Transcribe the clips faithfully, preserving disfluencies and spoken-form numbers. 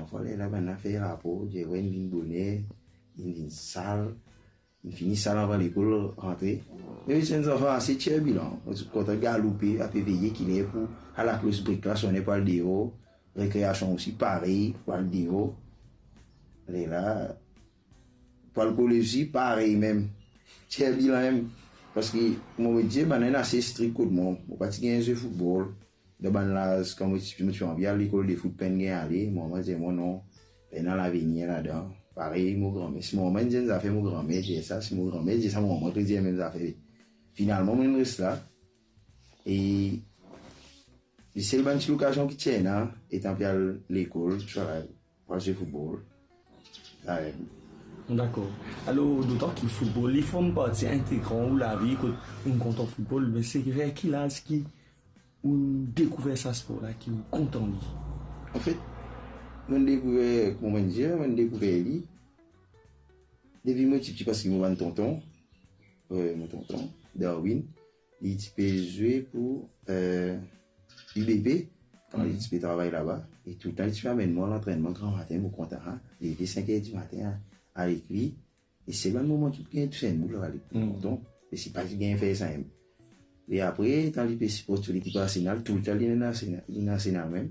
Parfwa, lerla bann la fer rapor, dir, "Wey, inn vinn boner, inn vinn sal, inn fini sal anvan lekol rantre." Me bann zanfan ase tir bilan, kontan galoupe, ape veye kiler pou al laklos brik la, sone pou al deor, rekreasion osi parey, pou al deor. Lerla, pou al kolez osi, parey mem. Tir bilan mem. Parski, mo, mo dir, bann la inn ase strik kot mwa. Mo pa ti gagn zwe foutbol. Dan bann laz, kan mo ti, mo ti anvi al lekol de fout, pa'nn gagn ale. Mo mama dir mwa, "Non, pena lavenir ladan." Parey mo granmer. Si mo mama inn dir enn zafer, mo granmer dir sa. Si mo granmer dir sa, mo mama pe dir mem zafer. Finalman, mo inn res la. E sel bann ti lokazion ki ti ena, etan pe al lekol, tousala, pou al zwe foutbol. Sa, eh. Dakor. Alor, dotan ki foutbol, li form parti integran ou lavi, kot ou kontan foutbol, me se ver ki laz ki ou dekouver sa spor la, ki ou kontan li? Anfet, mo'nn dekouver, kouma mo'nn dir, mo'nn dekouver li depi mo ti piti, parski mo bann tonton, eh, mo tonton, Darwin, li ti pe zwe pou, eh, U B P, kan li ti pe travay laba, e touletan li ti pe amenn mwa lantrennman gramatin, mo kontan, leve sink er dimatin, a, al ek li. E se bann moman ki gagn tous enn boul, ale, tonton. E si pa ti gagn fer sa mem. E apre, letan li pe siport so lekip Arsenal, touletan li ena Arsenal, li ena Arsenal mem.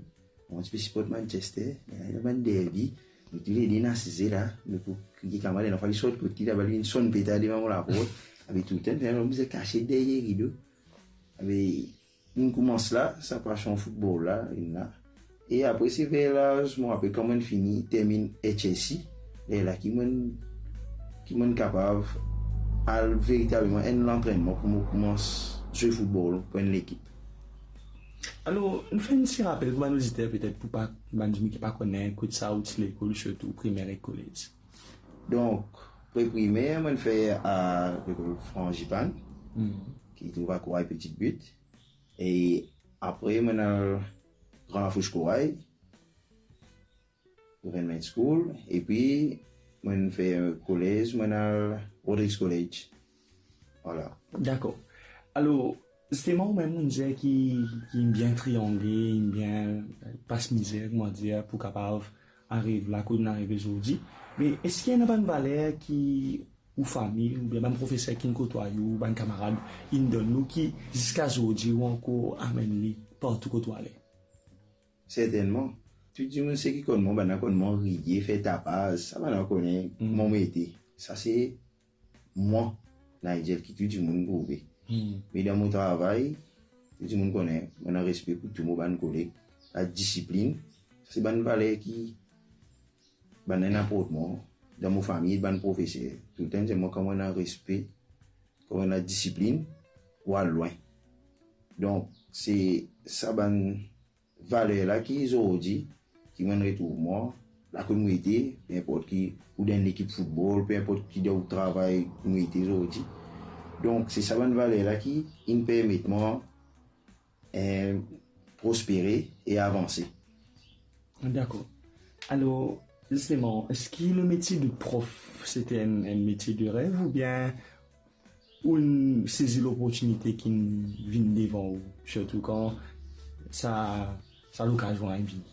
Mo ti pe siport Manchester, ena bann derby, nou toulede inn asize la, nou pou kriye kamarad, ena fwa li sort kot li laba, li vinn sonn peta devan mo laport, abe touletan, finn bizin kasiet deryer rido. Abe, inn koumans la, sa pasion foutbol la, inn la. E apre, se ver laz, mo rapel kan mo'nn fini terminn H S C, lerla ki mo'nn, ki mo'nn kapav al veritableman enn lantrennman pou mo koumans zwe foutbol pou enn lekip. Alor, nou fer enn ti rapel pou bann oditer, petet pou pa, bann dimoun ki pa kone, kot sa ou ti lekol, sirtou primer ek kolez. Donk, pre-primer, mo'nn fer a lekol Frangipane, ki trouv a Koray Petite Butte. E apre, mo'nn al Gran Lafous Koray, Government School, epi mo'nn fer kolez, mo'nn al Rodrigues College. Vwala. Dakor. Alor, zisteman, ou mem, ou dir ki, ki bien triangle, bien pas mizer, kouma dir, pou kapav ariv la kot nou arive zordi. Me eski ena bann valer ki ou fami, oubien bann profeser ki'nn kotwaye ou, bann kamarad, inn donn ou ki ziska zordi ou ankor amenn li partou kot ou ale? Sertennman. Tou dimoun seki konn mwa, bann la konn mwa riye, fer tapaz, sa bann la kone mwa mo ete. Sa se mwa, Nigel, ki tou dimoun trouve. Me dan mo travay, tou dimoun kone, mo ena respe pou tou mo bann koleg. Ladisiplinn, sa se bann valer ki bann la inn aport mwa, dan mo fami, bann profeser. Toultan dir mwa, kan mo ena respe, kan mo ena disiplinn, ou al lwin. Donk, se sa bann valer la ki zordi, ki mo'nn retrouv mwa, la kot mo ete, pe inport ki, ou dan enn lekip foutbol, pe inport ki dan ou travay mo ete zordi. Donk, se sa bann valer la ki inn permet mwa, eh, prospere e avanse. Dakor. Alor, zisteman, eski le metie de prof, sete enn, enn metie de rev oubien ou'nn sezi loportinite ki'nn vinn devan ou, sirtou kan sa, sa lokazion la inn vini?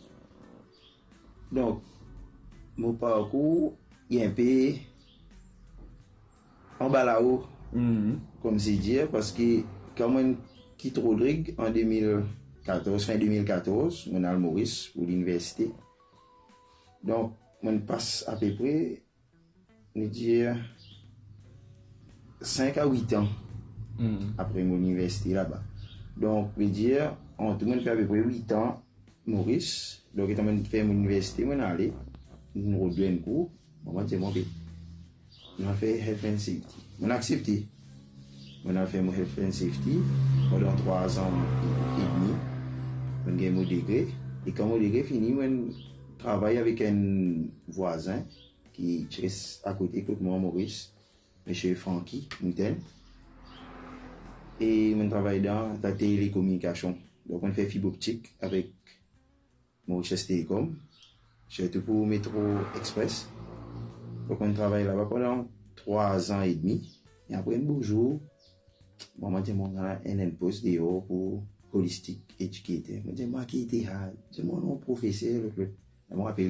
Donk, mo parkour, li enpe anba lao, koumsi dir, parski kan mo'nn kit Rodrig an de mil katorz, fin de mil katorz, mo'nn al Moris pou liniversite. Donk, mo'nn pas apepre, nou dir, sink a wit an apre mo liniversite laba. Donk, ve dir, an tou, mo'nn fer apepre wit an Moris. Donk, letan mo'nn fer mo liniversite, mo'nn ale, mo'nn rod enn kour, mama dir mwa, "Be, nou al fer health and safety." Mo'nn aksepte. Mo'nn al fer mo health and safety pandan trwa an edmi. Mo'nn gagn mo degre. E kan mo degre fini, mo'nn travay avek enn vwazin ki ti res akote kot mwa Moris, Misie Francky Moutaine. E mo'nn travay dan, dan telekominikasion. Donk, mo'nn fer fib optik avek Mauritius Telecom, sirtou pou Metro Express. Donk, mo'nn travay laba pandan trwa an edmi. E apre, enn bo zour, mama dir mwa, "Ena enn, enn pos deor pou holistic educator." Mo dir, "Mwa ki ete sa?" Dir mwa, "Non, profeser, lot, lot." Mo rapel